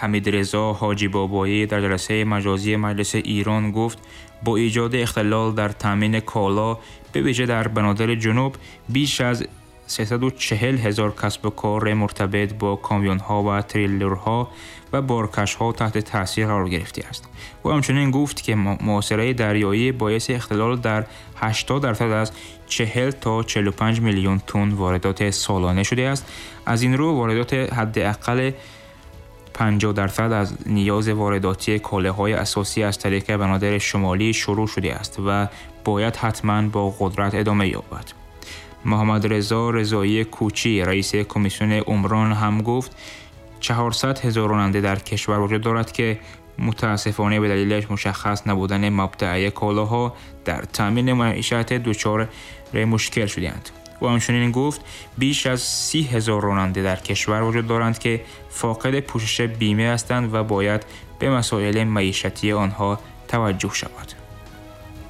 ҳамидрезо ҳоҷибобоӣ дар ҷаласаи маҷозии маҷлиси Ирон гуфт, бо иҷоди ихтилол дар таъмини коло бевижа дар банодири ҷунуб беш аз 340 ҳазор касбу кори муртабит бо камёнҳо ва триллерҳо ва боркашҳо таҳти таъсир қарор гирифтааст. Ӯ ҳамчунин гуфт, ки муҳосираи дарёӣ боиси ихтилол дар 80% аз 40 то 45 миллион тонн воридоти солона шудааст. Аз ин рӯ воридоти ҳадди аққали 50% аз ниёзи воридотии колаҳои асосӣ аз тариқи банодири шумолӣ шурӯъ шудааст ва бояд ҳатман бо қудрат идома ёбад. Муҳаммадрезо Резоии Кӯчӣ, раиси комиссияи умрон ҳам гуфт, 400 ҳазор ронанда дар кишвар вуҷуд дорад, ки мутаассифона ба далели мушаххас набудани мабдаи колаҳо дар таъмини маишат дучори мушкил шудаанд. Ӯ ҳамчунин гуфт, беш аз 30 ҳазор ронанда дар кишвар вуҷуд доранд, ки фоқиди пӯшиши бима ҳастанд ва бояд ба масоили маишатии онҳо таваҷҷӯҳ шавад.